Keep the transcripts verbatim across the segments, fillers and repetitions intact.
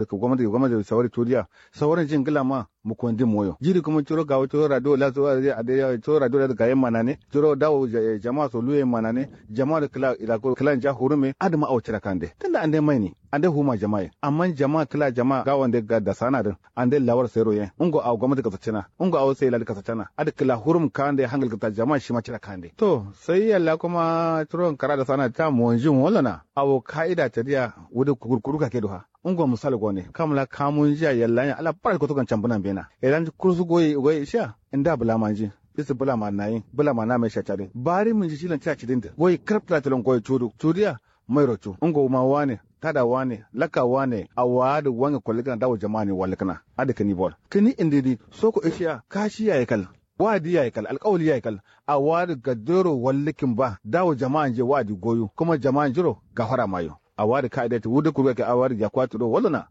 Gomnati gomnati sawari tudiya. Sawarin jin gla ma mukondin moyo jiri kuma curo gawo curo radio la curo radio la gayen manane curo dawo jama so luyen manane. Jama da kla ila klan ja hurume adama awo cira kande tunda ande maini. Ande huma jama ye amma jama kla jama gawo nde ga da sana din. Ande lawar sai royen ungo awo gomnati kasacina. Ungo awo sai ladi kasacina adi kla hurum kande hangal kata jama shima cira kande to sai yalla kuma curo kara da sana ta monjin wolona. Awo kaida tadiya wudu kurkuru kake duha. Ungo misal gone kamla kamun jiya yalla nya ala bara koto kan cambunan bena. Elan kursu goyi goyi ishiya. Nda bula manji. Isi bula ma nayin bula ma na mai shacari bari mun ji shilan ca cidin da goyi karab tala tilon goyi cudu cudiya. Mairo cu ungo ma wane tada wane laka wane awa da wange kolli kana dawo jama'a ne walli kana. Adi kani bol kani indidi soko ishiya kashi yayi kal. Wa'adi yayi kal alkawali yayi kal. Awa da gadero walli kin ba dawo jama'a nje wa'adi goyo kuma jama'a njiro gafara mayo. Awa da kaida ti wudu kurga ke awa da jakuwa turo wallo na.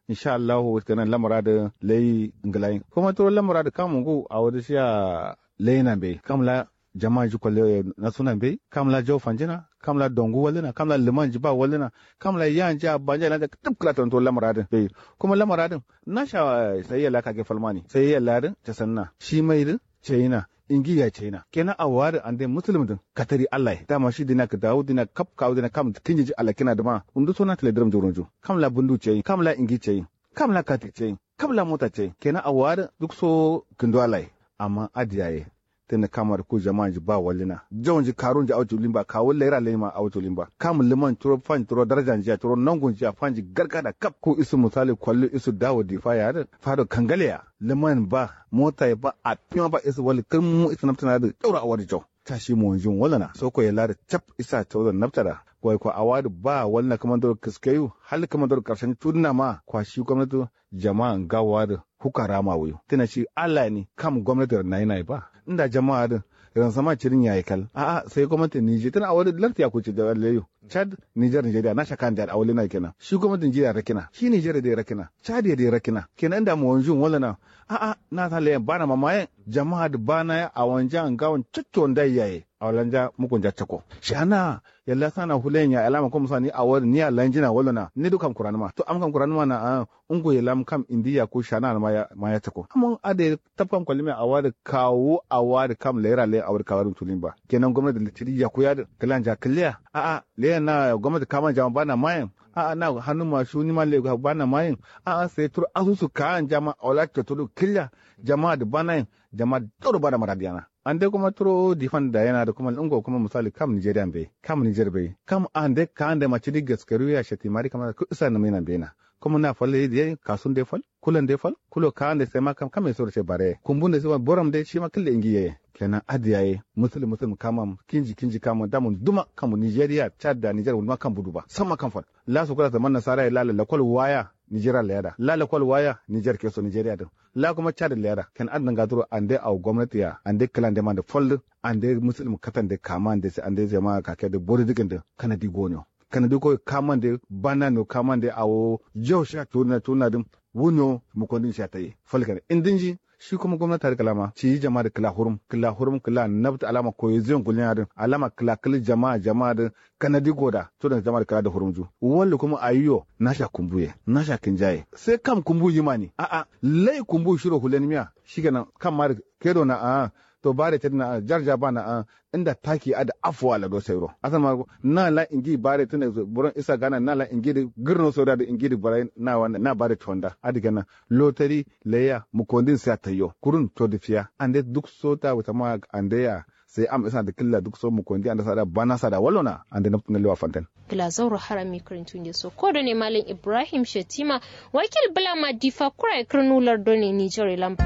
Insha allahu kenan lamara da lai nglayin kuma turo lamara da kamun gu awa da shiya. Lai nan bai kamla jama'a ji kwalle na suna bai kamla jau fanjina kamla dongu wallina kamla liman ji ba wallina. Kamla yan ji abanja ilanja tip kla tanto lamara da bai kuma lamara da. Na sha sai yalla kage falmani sai yalla da ta sanna shi mai da. Ceyina ingi ya ceyina kenan awo adǝ ande musulum dǝn katari allah ye dama shi dina kǝ dawu dina kap kawu dina kam kinjiji alakina dǝma. Ndu so na tǝle dǝrǝm jurunju kamla bundu ceyin kamla ingi ceyin kamla kati ceyin kamla mota ceyin kenan awo adǝ duk so kǝndo allah ye. Amma adǝ yaye tǝnǝ kamar ku jamanji ba wallina jaunji karunji au culimba kawu laira laima au culimba kam lǝman curo fanji curo darajanji ya curo nangunji ya fanji gargada kap ku isu musali kwallu isu dawo difa ya adǝ fado kangale ya. Lǝman ba mota ye ba afima ba isu wal kǝrmu isu nabtǝna dǝ jauro awo dǝ jau. Ta shi monjin walana soko ye ladǝ cap isa caudo nabtada. Wai kwa awo adǝ ba walna kǝmandoro kǝskeyu hal kǝmandoro karshen cudǝna ma kwa shi gomnati. Jama'a ngawo adǝ fuka rama wuyu tǝna shi allah ni kam gomnati rǝ nayi nayi ba. Nda jama'a adǝ ransama cirin yayi kal a'a sai gomnati nije tǝna awo adǝ larti yaku ci da leyu. Chad niger nigeria na shaka nde adǝ awo lena kenan shi gomnati nigeria rakina shi nigeria dai rakina chad ye dai rakina kenan nda monjin walana. A'a na sa leyen bana mamayen jama'a dǝ bana ye awonja ngawon cocco ndai yaye. Awolanja mukunja cakko shana. Yalla sana fuleyen ya alama ko musa ni awo dǝ ni ya lanjina walona ni duk kam kuranǝma to am kam kuranǝma na a'a. Ungu ye lam kam indi yaku shana ma ya cakko amma adǝ ye tab kam kwallimiya awo adǝ kawu awo adǝ kam laira layen awo dǝ kawu adǝ tulin ba kenan gomnati dǝ cidi yaku ya dǝ kǝlanja kǝlliya a'a. Leyen na gomnati kaman jama bana mayen a'a na hannu ma shuni ma leyen bana mayen. A'a sai turo asusu kawan jama awo la cotto dǝ kǝlliya jama'a dǝ banayen jama'a dǝ jauro bana maradiyana. Ande kuma turo difan dayena dǝ kuma ungo kuma musali kam nigeria mbeyi kam niger mbeyi kam ande kawande ma cidi gaskaru ya shati mari kamana kǝ isa nǝmina mbeyina. Kuma na fal ye diye kasun de fal kulan de fal kulo kawande sai ma kam kam ye soro ce bare kumbun de sai ma boram de shima kǝlle ingi ye. Kenan adǝ yaye musulum musulum kamam kinji kinji kamam damun duma kam nigeria chad da niger wunduma kam budu ba samma kam fal. La sukula zaman nasara ye la lakwal waya nigeria leyada la lakwal waya niger keso nigeria dǝn. La kuma chad leyada ken adǝ nǝnga duro ande awo gomnati ya ande kǝlande mande fal dǝ ande musulum katande kamande sai ande jama'a kake dǝ bori dǝgǝn dǝ kanadi goniyo. Kanadi koyi kamande banano kamande awo jau sha cudǝna cudǝna dǝn. Wunyo mukondin sha tayi fal kane indinji. Shi kuma gomnati adǝ kǝlama ciyi jama'a dǝ kǝla hurum kǝla hurum kǝla nabtǝ alama koyi ziyon gulin adǝ alama kǝla kǝl jama'a jama'a dǝ kanadi goda cudǝna jama'a dǝ kǝla dǝ hurumju. Wallu kuma ayiyo nasha kumbuye nasha kǝnjaye sai kam kumbu yimani a'a lai kumbu shiro hulenimiya. Shikenan kam ma dǝ kedo na a'a to bare cedǝ na a'a jarja ba na a'a. Nda taki adǝ afuwa lado sairo asan ma na la ingi bare tǝna buron isa gana na la ingi dǝ gǝrno sauro adǝ ingi dǝ bare na wanda na bare tonda adǝ kenan. Lotari laiya mukondin sai ataiyo kurun to dǝ fiya ande duk so ta wuta ma ande ya. Sai am isa dǝ kǝlla duk so mukondi ande sada bana sada wallona ande nabtǝna lewa fantan. Gǝla zauro harami kǝrintu nde so kodo ne malam ibrahim shetima. Wakil bǝla ma difa kura ye kǝrnu lardo ne niger ye lamba.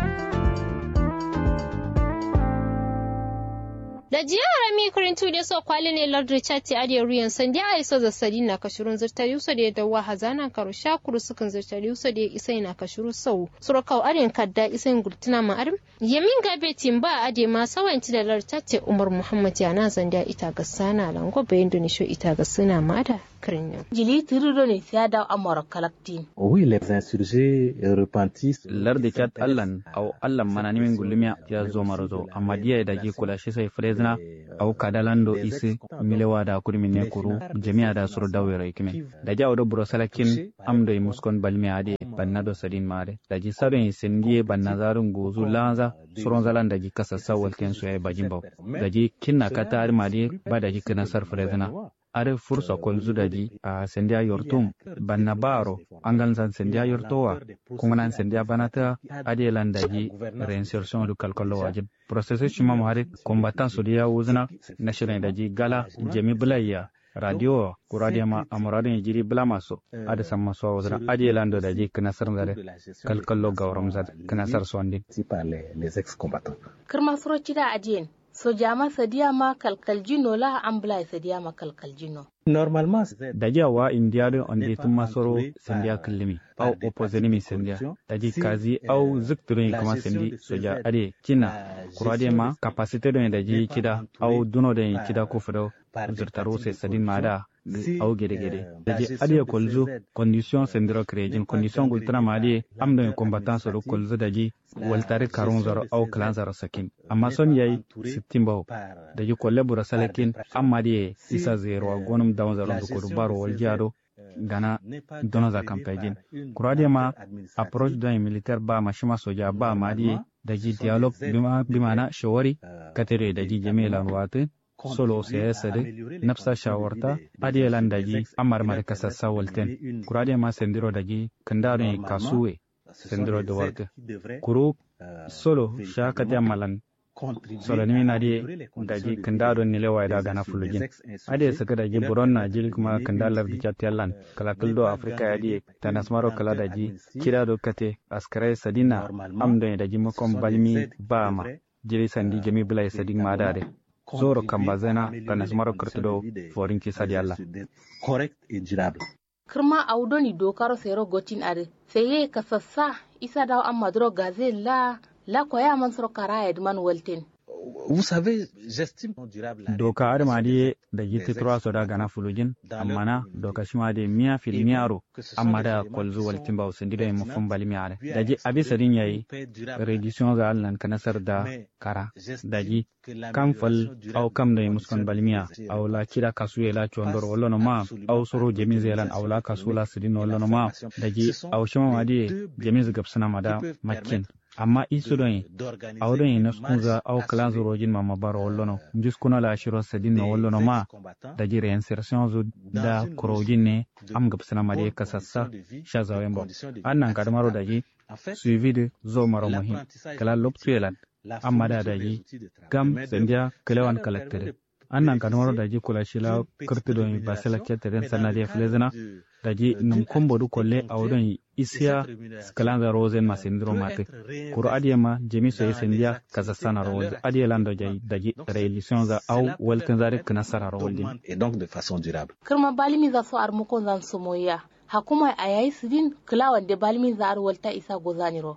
Daji ya harami kǝrintu nde so kwali ne lardo chati adǝ ye ruyen sandi ayi so zassadi na kashirun zǝrtari uso de dawwa hazana karo sha kuru sǝkǝn zǝrtari uso de isai na kashiru sau suro kau adǝ yen kadda isai ngultǝna ma adǝm. Yamin gabe timba adǝ ye ma sawayin tǝ da lardo chati umar muhammad ya na zandiya ita gassana lango bayin done sho ita gassana ma ada. Jili tǝrǝ done sai ya dawo amaro kalaktin. Wi les insurgés repentissent. Larde cad allan awo allan mananimin gullumiya ya zomaro zo amma diya daji kula shi sai furezina. Awo kada lando isi milewa da kudumin ne kuru jami'a da suro dawo yero ikimin daji awo do buro salakin. Am do muskon balmiya ade banna do sadin ma ade daji sadon yi sindiye banna zarun gozu lanza. Suron zalan daji kasassa walten soya bajin bawo. Daji kinna kata adima de ba daji kinasar furezina. Adǝ fursa kolzu daji a sandiya yortum. Banna baro angalzan sandiya yortowa. Kungunan sandiya banatǝa. Adǝ ye lan daji reinsertion dǝ kalkallo wajin. Processus shima ma adǝ combattant so dǝ ya wuzǝna. Nashirin daji gala jami bǝlaiya. Radio wa kura dǝ ye ma amura dǝ ye jiri bǝlama so. Adǝ samma so wuzǝna adǝ ye lan do daji kǝnasar nzare. Kalkallo gauram zar kǝnasar so andin. Kǝrma suro cida adiyen. Sojama sadiya ma kalkaljino la ambulai sadiya ma kalkaljino. Normalement. Daji awa indiya dǝ ande tǝmma soro sandiya kǝllǝmi. Au oppozenimi sandiya. Daji kazi au zǝktǝ doi kǝma sandi soja ade cinna. Kura dǝ ye ma kapasite doi daji cida au duno doi cida kufǝ dau. Zǝrtaru sai sadin ma da. Au gede gede daji adǝ ye kolzu. Condition sandiro kǝrejin condition gultǝna ma adǝ ye am doi combattant soro kolzu daji. Waltari karunzaro au kǝlanzaro sakin amma son yayi. Sittin bawo. Daji kolle buro salakin amma diye isa zero wa gonum dawunzaro ndukodu baro waljiya do. Gana donoza kampejin. Kura diye ma approche doi militaire ba ma shima soja ba ma diye. Daji dialogue bima bimana shawari. Kate doye daji jami'e lan watǝ. Solo seyasa dǝ nafsa shawarta. Adǝ ye lan daji amma dǝ ma dǝ kasassa walten. Kura diye ma sandiro daji kǝnda doi kasuwe. Sandiro dǝ wartǝ. Kuru solo sha kate amma lan. Solo nǝmi na diye. Daji kǝnda do nile waye da gana fulujin. Adǝ ye sǝkǝ daji buron na jiri kǝma kǝnda lardǝ cad te allan. Kǝla kǝl do afrika ye adǝ ye. Tanasmaro kǝla daji. Cida do kate askǝrai sadin na. Am doi daji mukon balmi ba ma. Jiri sandi jami bǝla ye sadin ma adǝ adǝ. Zoro kambazena tanasmaro kǝrtǝ do. Forinci sadi allan. Kǝrma awo doni dokaro sairo gotin adǝ. Sai ye kasassa. Isa dawo amma duro gazen la. La koya man suro kara ye dǝ man walten. Doka adǝ ma dǝ ye. Daji tǝtǝro aso da gana fulujin. Amma na doka shima dǝ ye miya fil miyaro. Amma da kolzu waltin bawo sandi doi mufum balmiya adǝ daji abi sadin yayi. Redisiyonza allan kǝnasar da. Kara daji kam fal. Awo kam doi muskon balmiya. Awo la cida kasuye la condoro wallono ma. Awo soro jaminza ye lan awo la kasu la sǝdinno wallono ma. Daji awo shima ma dǝ ye. Jaminza gabsǝna ma da. Maccin. Amma isu doi. Awo doi naskunza awo kǝlanza rojin ma ma baro wallono. Njuskuno la shiro sǝdinno wallono ma. Daji reinsersionzu da kurojin ne. Am gabsǝna ma dǝ ye kasassa. Sha zawen bawo. Annan kadǝmaro daji. Suivi dǝ zomaro muhim. Kǝla loktu ye lan. Amma da daji. Gam sandiya kǝlewan kalaktǝ dǝ. Annan kadǝmaro daji kula shila. Kǝrtǝ doi basela cetǝ dǝn sanna dǝ ye fǝlezǝna. Daji nǝm kombo dǝ kolle awo doi. Isiya. Kǝlanza rozen ma sandiro matǝ. Kuru adǝ ye ma jami so ye sandiya. Kasassanaro walzǝ adǝ ye lan do jai daji. Relisiyonza awo waltǝnza dǝ kǝnasararo walzǝ. Kǝrma balimiza so armukonzan somoyiya. Hakumai ayayi sǝdin. Kǝlawande balminza adǝ walta isa gozaniro.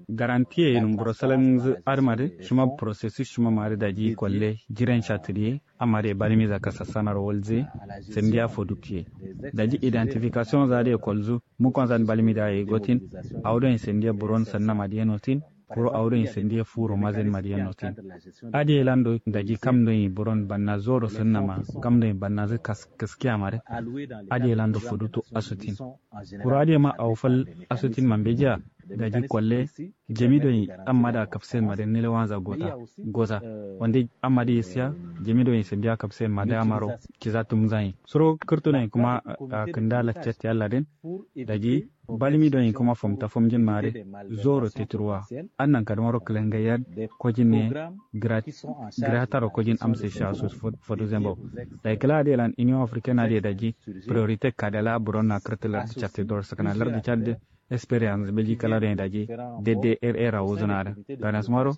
Garanti ye nǝm buro salanzǝ adǝ ma dǝ. Shima processus shima ma dǝ daji kolle. Jiren sha tǝdiye. Amma dǝ ye balimiza kasassanaro walzǝ ye. Sandiya foduktiye. Daji identifikasiyonza dǝ ye kolzǝ. Mukonzan balmida ye gotin. Awo doi sandiya buron sannama dǝ ye notin. Kuru awo doi sandiya furo mazen ma dǝ ye notin. Adǝ ye lan do daji kam doi buron banna zoro sannama. Kam doi bannazǝ kaskiya ma dǝ. Adǝ ye lan do fodutu asutin. Kuru adǝ ye ma awo fal. Asutin ma mbejiya. Daji kolle. Jami doi amma da kafsen ma dǝ nilewanza gota. Goza. Wande amma dǝ ye siya. Jami doi sandiya kafsen ma dǝ amaro. Kiza tumzan ye suro kǝrtu doi kuma. Kǝnda lakcatti allah dǝn. Daji. Balmi doi kuma fomta fomjin ma dǝ. Zoro teturwa. Annan kadǝmaro kǝlangayya. Kojin ne. Grataro kojin amse sha su. Foduzen bawo. Dayi kǝla adǝ ye lan union africaine adǝ ye daji. Priorite kadala buron na kǝrtǝ lardǝ catti doro sǝkǝna lardǝ catti. Experience beji kala doi daji. Dede er era wuzǝna dǝ. Ganas maro.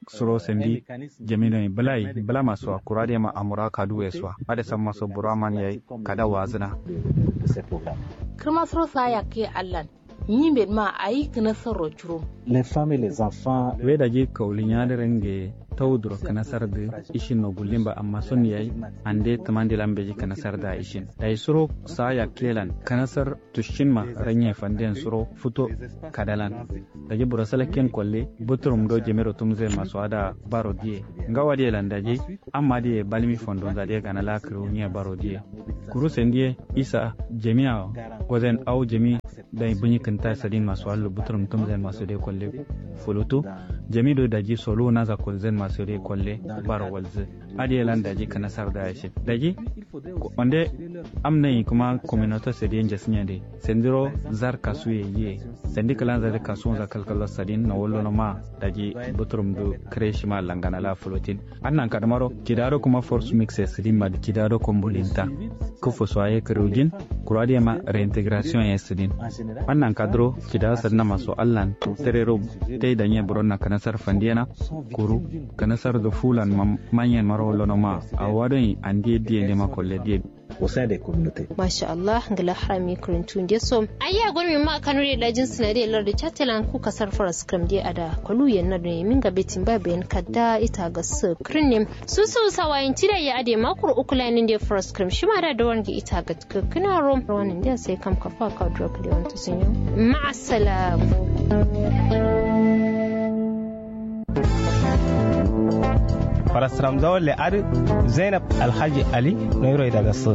Suro sandi. Jami doi bǝlai bǝlama so wa kura doi ma amura kaduwe so wa adǝ samma so buro aman yayi. Kada wazǝna. Kǝrma suro sa yakke allan. Nyi mben ma ayi kǝna sarro curo. We daji kaulinya dǝ renge. Tawuduro kǝnasar dǝ ishin no gullin ba amma son yayi. Ande tǝmandi lan beji kǝnasar da ishin dayi suro sa yakkelan kǝnasar tushin ma ranye fanden suro futo kadalan. Daji burasalakken kolle buturum do jemiro tumzen maso ada baro diye ngawa diye lan daji amma diye balmi fondonza diye gana la kǝriwunye baro diye. Kuru sendiye isa jemi awo gozen awo jemi. Dai bǝnyi kǝnta sadin maso allo buturum tumzen maso de kolle fulutu. Jemi do daji soluwu naza kolzen maso de kolle baro walzǝ. Adiye lan daji kǝnasar da yashin daji. Onde am nayi kǝma kominoto sadiye njasǝnyande sandiro zar kasuye yiye. Sandi kǝlanza dǝ kasuwunza kalkallo sadin no wallono ma daji buturum dǝ kǝre shima langana la fulotin. Annan kadǝmaro kidado kuma force mix e sǝdin ma dǝ kidado kombolinta. Kǝfo so aye kǝriwujin kuru adǝ yema reintegration ye sǝdin. Annan kadǝro kida sǝdǝna maso allan tǝrero. Tai danye buronna kǝnasar fandiyena kuru kǝnasar dǝ fulan manyen maro wallono ma. Awo adoi andiye diye ndema kolle diye. Au sein des communautés. Masha Allah ngla harami kǝrintu ndeso. Ayya gonmi ma kanu de dajin sǝna de lardu chattelan ku kasar faraskǝram de ada koluyen na done minga betin ba bayan kadda ita ga sǝ kǝrinne. Susu sawayin tida ya ade makuru ukulayin de faraskǝram shima da dawan gi ita ga kǝkkǝna rom rawanin de sai kam kafa ka duro kǝlewan tusunyo. Ma'assalam. Farasram zawalle adǝ zainab alhaji ali noyiro idagasǝ.